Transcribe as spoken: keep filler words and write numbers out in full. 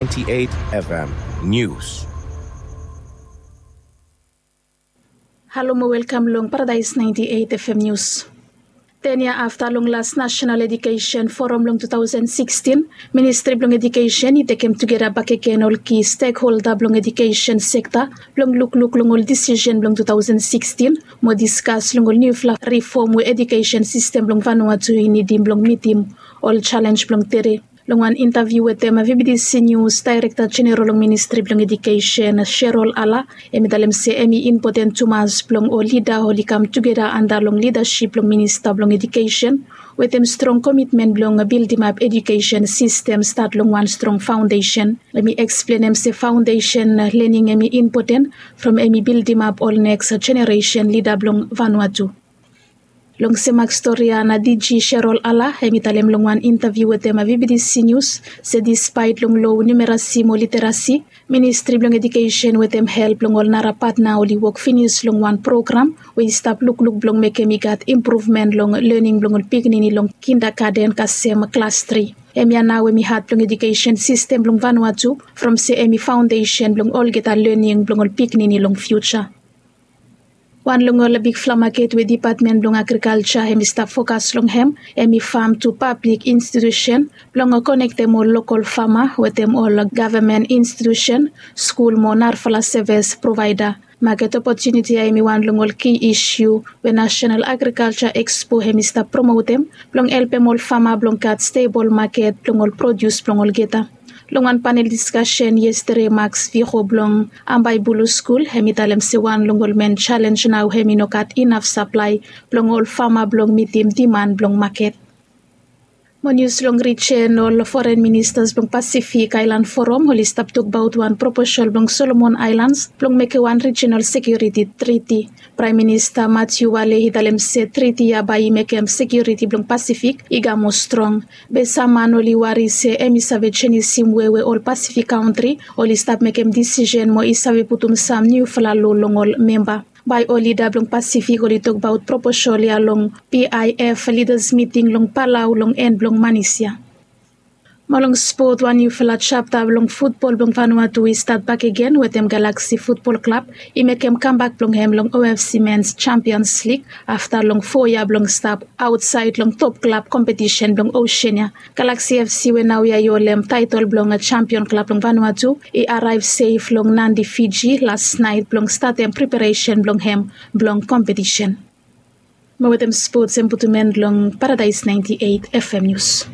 ninety-eight F M News. Halo mo welkam long Paradise ninety-eight F M News. Ten yia afta long las National Education Forum long two thousand sixteen, Ministri blong Edukesen i tekem tugeta bakegen ol ki stekholda blong edukesen sekta blong lukluk long ol disisen blong two thousand sixteen mo diskas long ol niufala rifom we edukesen sistem blong Vanuatu i nidim blong mitim ol jalenj blong tede. Long wan intaviu wetem VBTC News, Daerekta Jeneral long Ministri blong Edukesen, Sherol Ala, hem i talem se hem i impoten tumas blong ol lida oli kam tugeta anda long lidasip blong Minista blong Edukesen wetem strong komitmen blong bildimap edukesen sistem stat long wan strong faondesen. Hem i eksplenem se faondesen lening hem i impoten from hem i bildimap ol neks jeneresen lida blong Vanuatu. Long sem mak stori ya na D G Sherol Ala hem i talem long wan intaviu wetem VBTC News se dispaet long low numerasi mo literasi, Ministri blong Edukesen wetem help blong ol nara patna oli wok finis long wan program we i stap lukluk blong mekem i gat impruvmen long lening blong ol pikinini long kindagaden kasem klas tri. Hemia nao hem i hat blong edukesen sistem blong Vanuatu from se hem i faondesen blong olgeta lening blong ol pikinini long fiuja. Wan long ol bigfala maket we Dipatmen blong Agrikalja hem i stap fokas long hem, hem i fam tu pablik institusen blong konektem ol lokol fama wetem ol gavman institusen, skul mo narafala sevis provaeda. Maket opotuniti ya hem i wan long ol ki isiu we National Agriculture Expo hem i stap promotem blong helpem ol fama blong gat stebol maket blong ol produs blong olgeta. Long wan panel diskasen yestede, Max Viho blong Ambaibulu Skul hem i talem se wan long ol men jalenj nao hem i no gat inaf saplae blong ol fama blong mitim diman blong maket. Mo nius long rijen, ol foren ministas blong Pasifik Aelan Foram oli stap tokbaot wan proposal blong Solomon Aelans blong mekem wan rijinal sekiuriti triti. Praem Minista Matthew Wale i talem se triti ya bae i mekem sekiuriti blong Pasifik i kam moa strong. Be sam man oli wari se hem i save jenisim wei we ol Pasifik kantri oli stap mekem disisen mo i save putum sam niufala lo long ol memba. Bae ol lida blong Pasifik oli tokbaot proposal ya long P I F lidas miting long Palau long en blong manis ya. Mo long spot, wan niufala japta blong futbol blong Vanuatu i stat bakegen wetem Galaxy Futbol Klab i mekem kambak blong hem long O F C Mens Champions League afta long fo yia blong stap aotsaed long top klab kompetisen blong Oseania. Galaxy F C we naoia i holem taetol blong jampion klab blong Vanuatu i araev sef long Nadi, Fiji las naet blong statem preparesen blong hem blong kompetisen. Mo wetem spots hem putum en long Paradise ninety-eight F M News.